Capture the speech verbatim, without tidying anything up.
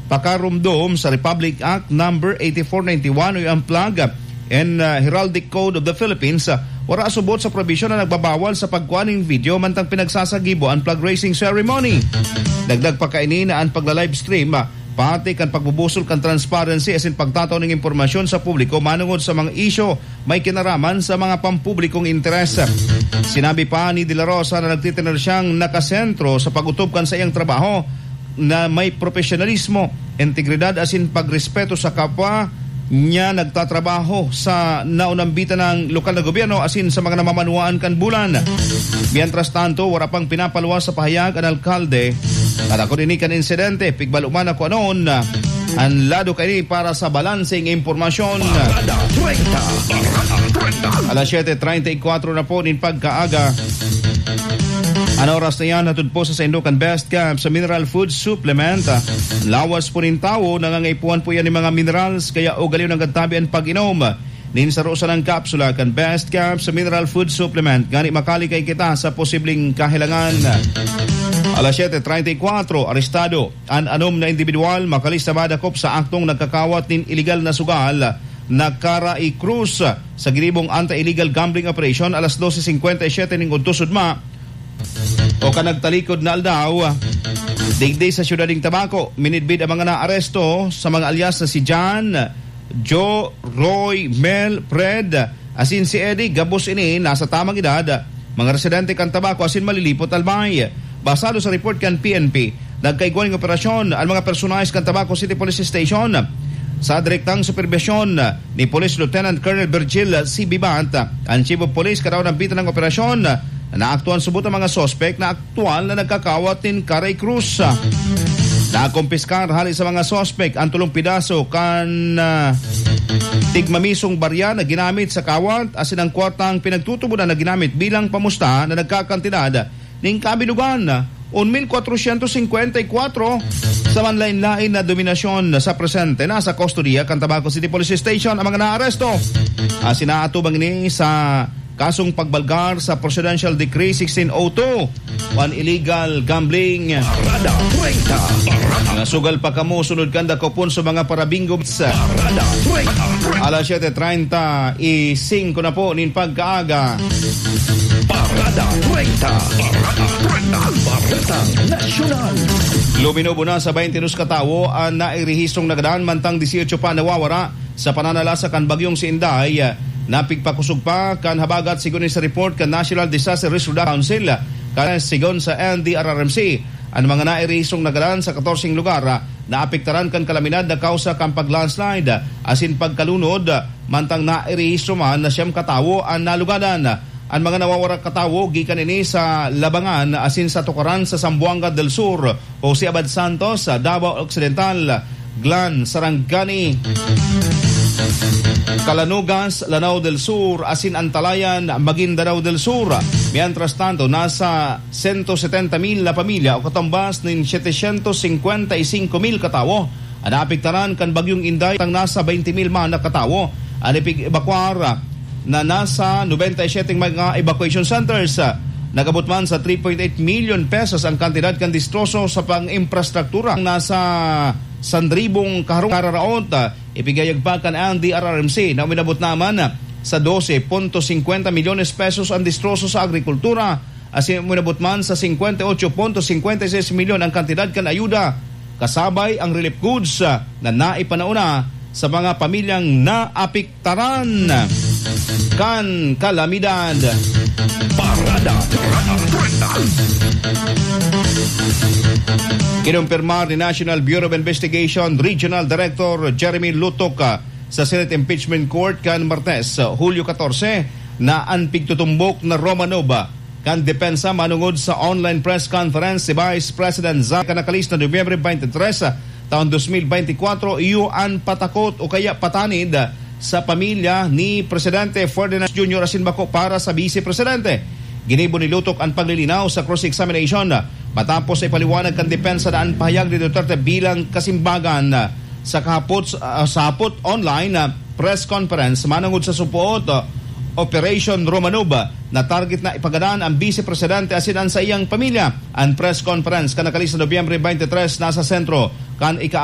pakarumdom sa Republic Act Number eighty-four ninety-one o ang Flag and, ah, Heraldic Code of the Philippines, ah, wara subot sa probisyon na nagbabawal sa pagkuha nin video mantang pinagsasagibo an flag raising ceremony. Dagdag pa kaini na an pagla-livestream, ah, parte kan pagbubusol kan transparency asin pagtatao ning impormasyon sa publiko manungod sa mga isyu may kinaraman sa mga pampublikong interes. Sinabi pa ni De La Rosa na nagtitener siyang nakasentro sa pag-otob kan saiyang trabaho na may propesyonalismo, integridad asin pagrespeto sa kapwa niya nagtatrabaho sa naunambitan ng lokal na gobyerno asin sa mga namamanwaan kan bulan. Mientras tanto, wara pang pinapaluwas sa pahayag an alkalde. At ako din kan insidente, pigbalo man ako anon, an lado kaini para sa balanseng impormasyon. Parada treinta, Parada treinta. Alas siyete treinta y cuatro na po nin pagkaaga. An oras na yan, hatod po sa saindo kan Best Cap sa Mineral Food Supplement. Lawas po nin tawo, nangangaipuhan po yan ng mga minerals, kaya ugaliw ng gantabi ang pag-inom nin saro sanang kapsula kan Best Cap sa Mineral Food Supplement. Ngani makalikay kita sa posibleng kahelangan. Alas siyete treinta y cuatro, arestado an anom na individual makalista madakop sa aktong nagkakawat nin iligal na sugal na Cara y Cruz sa ginibong anti-illegal gambling operation alas dose cincuenta y siete ning udto sudma o kan nagtalikod na aldaw. Digdi sa siyudad nin Tabaco, minidbid ang mga naaresto sa mga alyas na si John, Joe, Roy, Mel, Fred, asin si Eddie. Gabos ini nasa tamang edad, mga residente kan Tabaco asin Malilipot, Albay. Basado sa report kan P N P, nagkaigwa ning operasyon an mga personahes kan Tabaco City Police Station sa direktang superbisyon ni Police Lieutenant Colonel Virgil C. Bibant, ang Chief of Police. Kadaw nambitan ng operasyon, naaktuhan subot ang mga suspek na aktual na nagkakawat nin Cara y Cruz. Nakumpiskar hali sa mga suspek ang tolong pidaso kan, ah, tigmamisong barya na ginamit sa kawat asin ang kwartang pinagtutubodan na ginamit bilang pamusta na nagkakantidad nin kabinugan, un mil kwatrosyentos singkwenta y kwatro. Sa manlain-lain na denominasyon, sa presente nasa kustodiya kan Tabaco City Police Station ang mga naaresto. Asin naatubang ini sa kasong pagbalgar sa Presidential Decree sixteen oh two, an illegal gambling. Parada treinta. Parada. Nasugal pa kamo sunod kan dakopon sa mga parabingo. Parada treinta. Alas siyete treinta y cinco na po nin pagkaaga. Parada treinta. Parada treinta. Baretang Nasyonal. Luminobo na sa baynte dos katawo an nairehistrong nagadan, mantang disyotso pa nawawara sa pananalasa kan Bagyong si Inday. Napigpakosog pa kan habagat, sigon sa report kan National Disaster Risk Reduction Council. Kan sigon sa N D R R M C, an mga nairehistrong nagadan sa katorseng lugar naapektaran kan kalamidad na kausa kan pag-landslide asin pagkalunod, mantang nairehistro man na siyam katawo an nalugadan. An mga nawawara katawo gikan ini sa Labangan asin sa Tukaran sa Zamboanga del Sur, Jose Abad Santos, Davao Occidental, Glan, Sarangani, Calanugas, Lanao del Sur, asin Antalayan, Maguindanao del Sur. Mientras tanto, nasa sento setenta mil na pamilya o katumbas nin setecientos cincuenta y cinco mil katawo an naapektaran kan Bagyong Inday, tang nasa baynte mil man na katawo an ipig-ebakwar na nasa nobenta y siyete mga evacuation centers. Nag-abot man sa three point eight million pesos ang kantidad kan distroso sa pang-imprastruktura. Nasa sanribong kaharong kararaot, ipigayag pa kan N D R R M C na uminabot naman sa dose punto singkwenta milyones pesos ang distroso sa agrikultura, asin uminabot man sa singkwenta y otso punto singkwenta y seis milyon ang kantidad kan ayuda, kasabay ang relief goods, ah, na naipanauna sa mga pamilyang naapektaran kan kalamidad. Parada, Parada treinta. Kinumpirmar ni National Bureau of Investigation Regional Director Jeremy Lutok, ah, sa Senate Impeachment Court kan Martes, Hulyo katorse, na an pigtutumbok na Romanov kan depensa manungod sa online press conference si Vice President Zach kan nakalista Nobyembre twenty-three, taon dos mil beintikwatro, iyo an patakot o kaya patanid sa pamilya ni Presidente Ferdinand Junior asin bako para sa Vice Presidente. Ginibo ni Lutok an paglilinaw sa cross-examination matapos sa ipaliwanag kan depensa na an pahayag ni Duterte bilang kasimbagan sa kahapot, ah, sa hapot online, ah, press conference manungod sa supoot, ah, Operation Romanov, ah, na target na ipagadan ang Vice Presidente asin an saiyang pamilya. An press conference kan nakalista Nobyembre twenty-three nasa sentro kan ika-,